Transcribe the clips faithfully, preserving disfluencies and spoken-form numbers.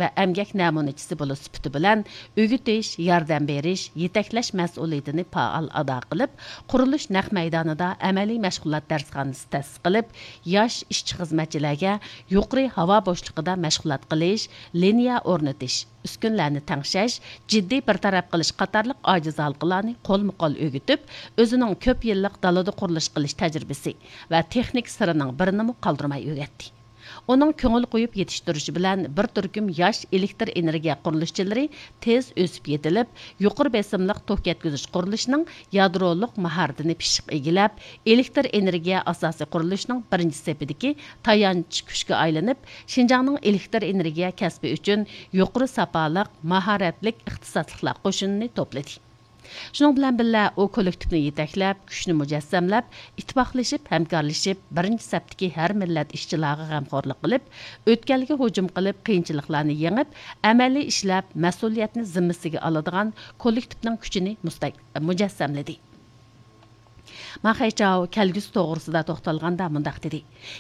ۋە ئەمگەك نەمۇنىچىسى بولۇش سۈپىتى بىلەن ئۆگىتىش، ياردەم بېرىش، يېتەكلەش مەسئۇلىيىتىنى پائال ئادا قىلىپ، قۇرۇلۇش نەق مەيدانىدا ئەمەلىي مەشغۇلات دەرسخانىسى تەسىس قىلىپ، ياش ئىشچى-خىزمەتچىلەرگە يۇقىرى ھاۋا بوشلۇقىدا مەشغۇلات قىلىش، لىنىيە ئورنىتىش، ئۈسكۈنىلەرنى تەڭشەش، جىددىي بىر تەرەپ قىلىش قاتارلىق ئاجىز ھالقىلارنى قولمۇ قول ئۆگىتىپ، ئۆزىنىڭ كۆپ يىللىق دالىدا قۇرۇلۇش قىلىش تەجرىبىسى ۋە تېخنىكا سىرىنىڭ بىرىنىمۇ قالدۇرماي ئۆگەتتى. ئۇنىڭ كۆڭۈل قويۇپ يېتىشتۈرۈشى بىلەن بىر تۈركۈم ياش ئېلېكتر ئېنېرگىيە قۇرۇلۇشچىلىرى تېز ئۆسۈپ يېتىلىپ، يۇقىرى بېسىملىق توك يەتكۈزۈش قۇرۇلۇشىنىڭ يادرولۇق ماھارىتىنى پىششىق ئىگىلەپ، ئېلېكتر ئېنېرگىيە ئاساسىي قۇرۇلۇشىنىڭ بىرىنچى سېپىدىكى تايانچ كۈچكە ئايلىنىپ، شىنجاڭنىڭ ئېلېكتر ئېنېرگىيە كەسپى ئۈچۈن يۇقىرى ساپالىق، ماھارەتلىك ئىختىساسلىقلار قوشۇنىنى توپلىدى. شۇنىڭ بىلەن بىللە، ئۇ كوللېكتىپنى يېتەكلەپ، كۈچنى مۇجەسسەملەپ، ئىتتىپاقلىشىپ، ھەمكارلىشىپ، بىرىنچى سەپتىكى ھەر مىللەت ئىشچىلارغا غەمخورلۇق قىلىپ، ئۆتكەلگە ھۇجۇم قىلىپ، قىيىنچىلىقلارنى يېڭىپ، ئەمەلىي ئىشلەپ، مەسئۇلىيەتنى زىممىسىگە ئالىدىغان كوللېكتىپنىڭ كۈچىنى مۇستەك-، مۇجەسسەملىدى. ما خەيچاۋ كەلگۈسى توغرىسىدا توختالغاندا مۇنداق دېدى: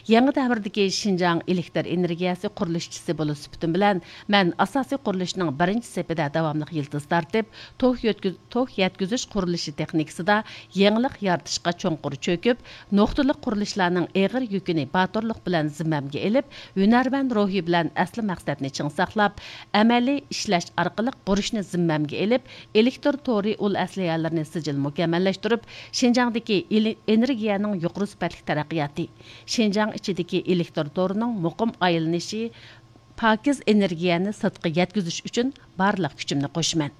يېڭى دەۋردىكى شىنجاڭ ئېلېكتر ئېنېرگىيەسى قۇرۇلۇشچىسى بولۇش سۈپىتىم بىلەن، مەن ئاساسىي قۇرۇلۇشنىڭ بىرىنچى سېپىدە داۋاملىق يىلتىز تارتىپ، توك يۆتكىز-، توك يەتكۈزۈش قۇرۇلۇشى تېخنىكىسىدا يېڭىلىق يارىتىشقا چوڭقۇر چۆكۈپ، نۇقتىلىق قۇرۇلۇشلارنىڭ ئېغىر يۈكىنى باتۇرلۇق بىلەن زىممەمگە ئېلىپ، ھۈنەرۋەن روھى بىلەن ئەسلى مەقسەتنى چىڭ ساقلاپ، ئەمەلىي ئىشلەش ئارقىلىق بۇرچنى زىممەمگە ئېلىپ، ئېلېكتر تورى ئۇل ئەسلىھەلىرىنى سىجىل مۇكەممەللەشتۈرۈپ، شىنجاڭدىكى ئېلې-، ئېنېرگىيەنىڭ يۇقىرى سۈپەتلىك تەرەققىياتى، شىنجاڭ ئىچىدىكى ئېلېكتر تورىنىڭ مۇقىم ئايلىنىشى، پاكىز ئېنېرگىيەنى سىرتقا يەتكۈزۈش ئۈچۈن بارلىق كۈچۈمنى قوشىمەن.